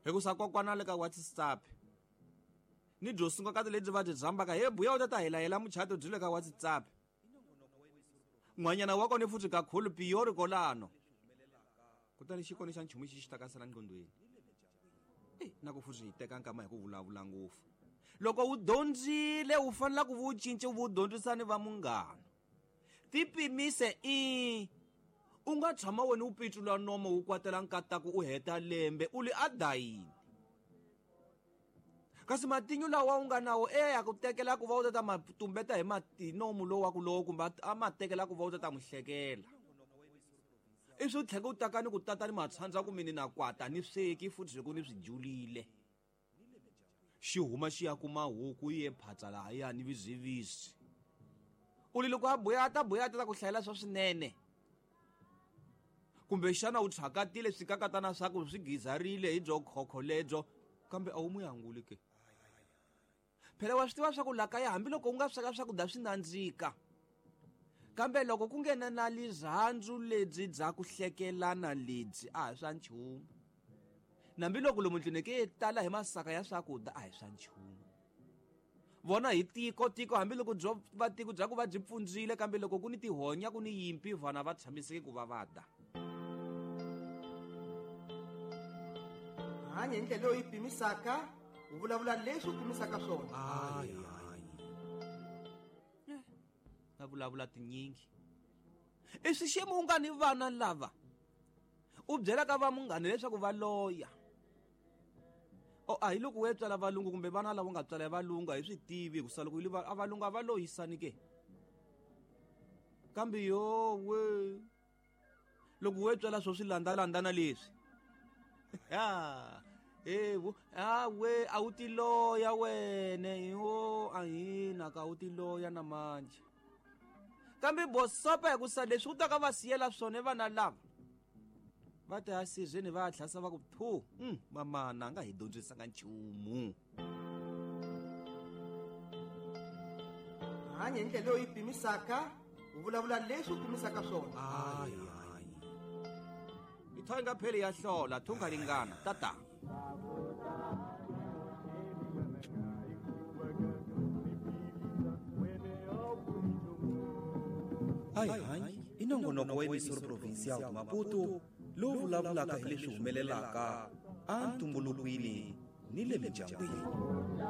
Hikusa kokwana le ka WhatsApp ni byo sunga ka lebyi va byi dzambaka he buya u ta ta helayela muchato byi le ka WhatsApp. N'wanyana wa kona futhi kakhulu piyori kolano. Kutani xi kona xa nchumu xi xi ta ka sala nqondweni. Na ku futhi hi teka nkama hi ku vulavula ngopfu. Loko u dyondzile u fanele ku vu cinca u dyondzisa ni va munghana. Tipimise i u nga tshama wena u pitsula nomo wu kwatela nkataku u heta lembe u li a dayini. Kasi matinyu lawa u nga nawo ya ku tekela ku va u ta ma tumbeta hi matinomu lowu wa ku lowu kumbe a ma tekela ku va u ta n'wi hlekela. I swi tlhela u taka ni ku tata ni matshandza ku mini na kwata ni sweki futhi ku ni swi julile. Xi huma xi ya kuma huku yi ye phatsa lahaya ni vizivisi. U li loko a buya a ta buya a ta ku hlayela swa swinene. Kumbe xana u tshakatile swikakatana swa ku swi gizarile hi byo khokho lebyo kambe a wu mu yanguli ke. Phela wa swi tiva swa ku la kaya hambiloko u nga sweka swakudya swi nandzika. Kambe loko ku nghena na lirhandzu lebyi bya ku hlekelana lebyi a hi swa nchumu. Nambiloko lomu ndlwini ke tala hi masaka ya swakudya a hi swa nchumu. Vona hi tiko tiko hambiloko byo va tiko bya ku va byi pfundzile kambe loko ku ni tihonya ku ni yimpi vana va tshamiseke ku va va da. Hanya hi ndlela leyi pimisaka, u vulavula leswi u pimisaka swona. Va vulavula tinyingi. I swi xiyimo u nga ni vana lava u byelaka va munghana leswaku va loya. O a hi loko we tswala valungu kumbe vana lava nga tswala valungu a hi swi tivi hikusa loko yi a valungu a va loyisani ke. Kambe yo we loko we tswala swo swi landzalandzana leswi. Ha evo a we a wu ti loya wene yo a hina ka wu ti loya na manje. Kambe bosopa hikusa leswi u ta ka va siyela swona vana lava. Va ta sizweni va tlhasa va ku thu mamana a nga hi dyondzisanga nchumu. Hanya hi ndlela leyi pimisaka, u vulavula leswi u pimisaka swona. I tho nga pheli ya hlola thunga ringana tata. Ai hanyi i nongonoko wa emisoro provincial de Maputo lowu vulavulaka hi leswi humelelaka antumbulukwini ni le mindyangwini.